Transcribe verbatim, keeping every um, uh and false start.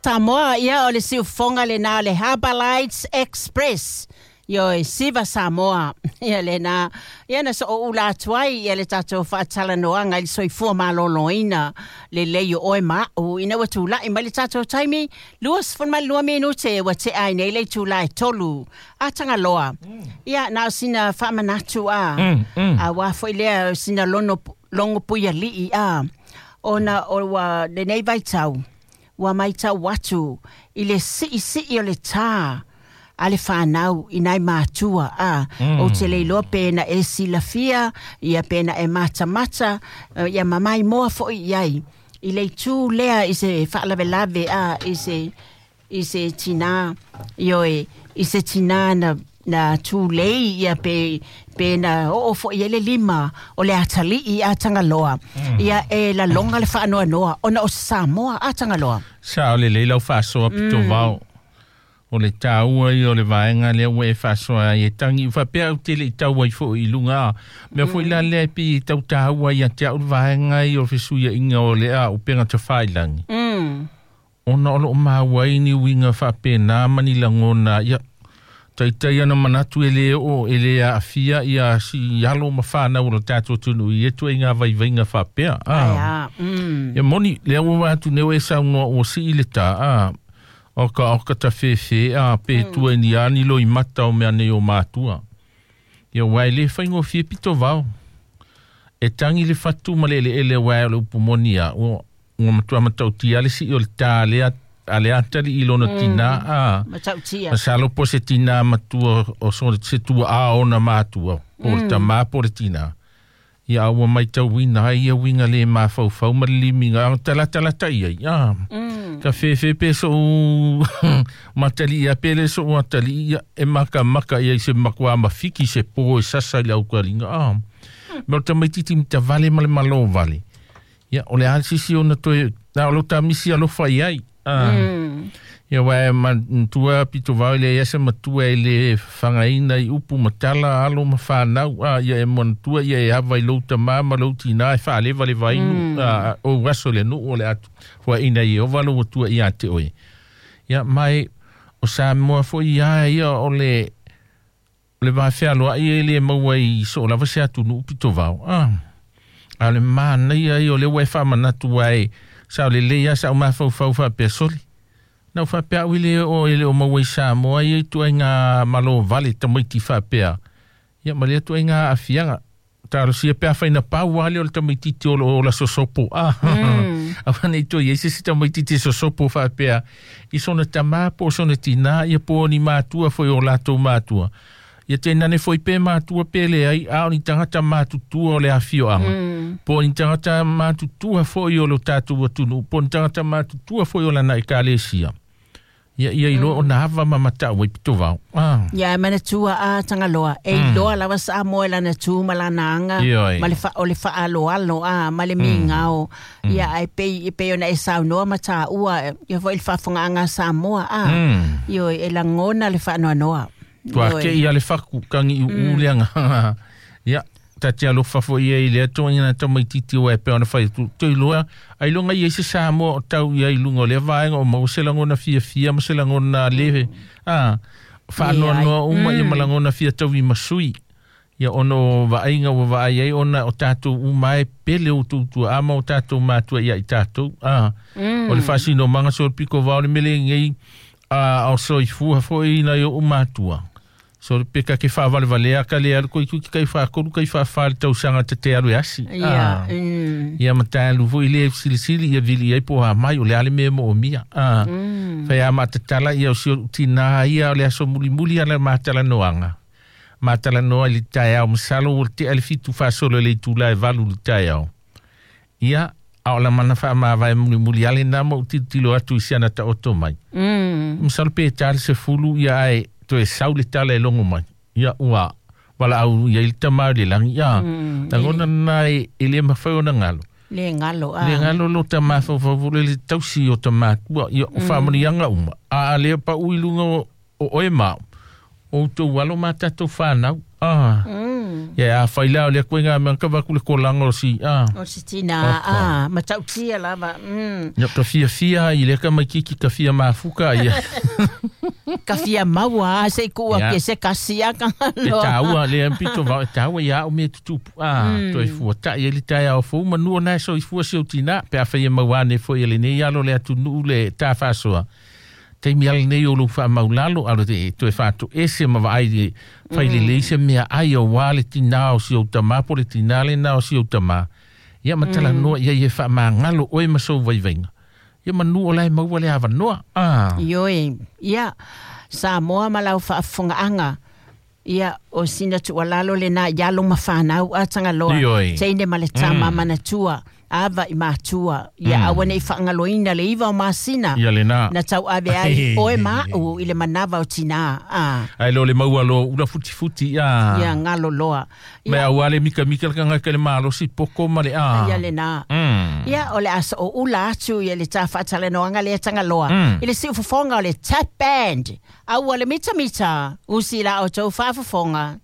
Samoa, ia o le siufoga lenā le Harbour Lights Express. Ioe, siva Samoa. Ia lenā. Ia na so'o ula atu ai ia le tatou faatalanoaga i le soifua malōlōina lelei o oe ma a'u ina ua tula'i mai le tatou taimi luasefulumalua minute ua te'a ai nei le itulā e tolu a Tagaloa. Ia na o sina faamanatu a. Mm, mm. Auā fo'i lea o sina lono logo puiali'i a. Ona o ua lenei vaitau ua maitau atu i le si'isi'i o le tā a le fanau i nai matua a. Mm. Ou te le iloa pe na e silafia ia pe na e matamata eh, ia mamaimoa fo'i i ai i le itū lea i se faalavelave a i se i se tinā ioe i se tinā na na tulei ia pe pe na oo fo'i ai le lima o le atali'i a Tagaloa. Ia e laloga le faanoanoa ona o Samoa a Tagaloa. Sa o le lei lau faasoa pito vao. O le tāua ia o le vaega lea ua e faasoa ai e tagi faapea ou te le'i tau ai fo'i i luga a. Mea fo'i la lea e pei e tau tāua ia te a'u le vaega ia o le fesuia'iga o le a upega tafailagi. Mm. Ona o lo'o maua ai ni uiga faapenā ma ni lagona ia taitai ana manatu e lē oo e lē aafia ia si alo ma fanau o lo tatou atunuu i ia tuaiga vaivaiga faapea a. Ai a. Mm. Ia moni lea ua vaai atu nei ua e saunoa ua sii le tā a. O ka o ka tafefe a pe tua ni ani lo i mata o mea nei o matua. Ia uae le faigofie pito vao. E tangi le fatu ma le eleele uae o le upu moni a. Ua ua matua matautia le sii o le tā lea a le atali'i i lona tinā a. Matautia. Masalo po se tinā matua o so se tua a ona matua. Po le tamā po le tinā. Ia a ua maitauina ai ia uiga lē mafaufau ma le limiga a talatalata i ai a. Mm. Ka fefe pe so'u matali'i a pe le so'u atali'i ia e makamaka ia i se makuā mafiki se pō e sasa i le aukaliga a. Me o le tamaititi matavale ma le malō vale. Ia o le a le sisi ona toe na o lo tamisi alofa i ai a. Mm. Ia uae manatua pito vao i le ia se matua e lē fagaina i upu ma tala alo ma fanau a ia e manatua ia e ava i lou tamā ma lou tinā e faalevalevainu Mm. a ou aso le nuu o le atu foaʻina Ieova lou atua iā te oe. Ia mai o Samoa fo'i ia ia o le o le vafealoa'i e lē maua i soo lava se atunuu pito vao a. A o le manaia ia o lea ua e faamanatu uae sa o lelei a sa'u mafaufau faapea soli. Na u faapea a'u i le o e le o maua i Samoa ia i tuaiga malō vale tamaiti faapea. Ia ma lea tuaiga aafiaga. Talosia pe afai na pau lea o le tamaititi o loo ola sosopo a. Mm. Aua nei toe i ai se isi tamaititi e sosopo faapea i sona tamā po o sona tinā ia po o ni matua foi o latou matua. Ia tainane foi pe matua pe leai a o ni tagata matutua o le afioaga. Mm. Po o ni tagata matutua foi o lo tatou atunuu po o ni tagata matutua foi o lana ekalesia. Ia ia iloa ona ava ma mata'u ai pito vao. Ah. Ia e manatua a Tagaloa e iloa lava Samoa i lana tu ma lana aga Ioe. ma le fa, o le fa'aaloalo a ma le migao. Ia ae pei e pei ona e saunoa ma tāua ia foi le faafogaaga a Samoa a. Mm. Ioe e lagona le faanoanoa. Tua Ioe. ke ia le faku kangi u mm. leanga. Ia ta te alofa foi ia i le atoa ina tamaititi o e pe ona fai tu. Te iloa, ai longa ia i se Samoa o tau ia i lunga o lea vaega o maua se lagona fiafia ma se lagona le. Ah, faanoanoa uma ia ma lagona fia tau'i ma sui. Ia ona o vaaiga ua vaai ai ona o tatou uma e pele o tutua'a ma o tatou matua ia i tatou. Ah, Mm. o le faasinomaga so le piko vao le mele gei a o soifua fo'i nai o'u matua. So le peka ke faavalevalea ka le alu koe kai faakolu kai faafā le tausaga tate alu e asi. Ia. Ah. Mm. Ia ma talu fo'i le silisili ia vili ai po a mai o le a le mea mo'omia. Ah. Mm. Fai a matatala ia o si o'u tinā ia o le aso mulimuli ala matalanoaga. Matalanoa i le taeao masalo ua le te'a le fitu faasolo i le itulā e valu i le taeao. Ia a o lamana faamavae mulimuli ale na ma ou tilotilo atu i siana ta'oto mai. Mm. Masalo pe tā le sefulu ia ae toe sau le tala e logo mai. Ia ua valaau ia i le tamā i le lagi ia. Mm. Lagona na e e lē mafai ona galo. Le galo a. Le galo lo tamafaufau le le tausi o tamatua ia o faamanuiaga uma. A a lea pa'u i luga o o oe ma o outou alo ma tatou fanau. Ah. Mm. Ia afai la o le kuinga me ka va ku le kolanga o si a. O si tina a matautia lava. Mm. Ia ka fia fia i le ka mai kiki ka fia mafuka ia. Ka fia maua se ku a ke se kasia ka E taua le ampito va taua ia o me tutupu a toi fua ta ia li tai au fu manu na so i fua si o tina pe a fai maua ne fo ia le nei alo le atu nu le ta fasoa. Te mi ale nei o lu fa maulalo alo te toe fatu ese ma vai le fai le leise mea ai o wale tina o si o tama po le tina le na o si o tama. Ia matala noa ia ia fa mangalo oe maso vaivainga. Ia manu o lai maua le avanoa. Ah. Ioe, ia Samoa ma lau faafofogaʻaga ia o sina tuualalo lenā i alo ma fanau a tagaloa teine ma le tama manatua ava i matua ia aua nei faagaloina le iva o masina ia lena na tauave ai oe maʻu i le manava o tinā a ai lo le maua lo ula futifuti ia ia galo loa me aua le mikamika le kagaka le malosi poko ma le a ia lenā ia o le aso o ula atu ia le tafaatalanoaga lea tagaloa i le siufofoga o le tap band aua le mitamita usi la outou faafofoga.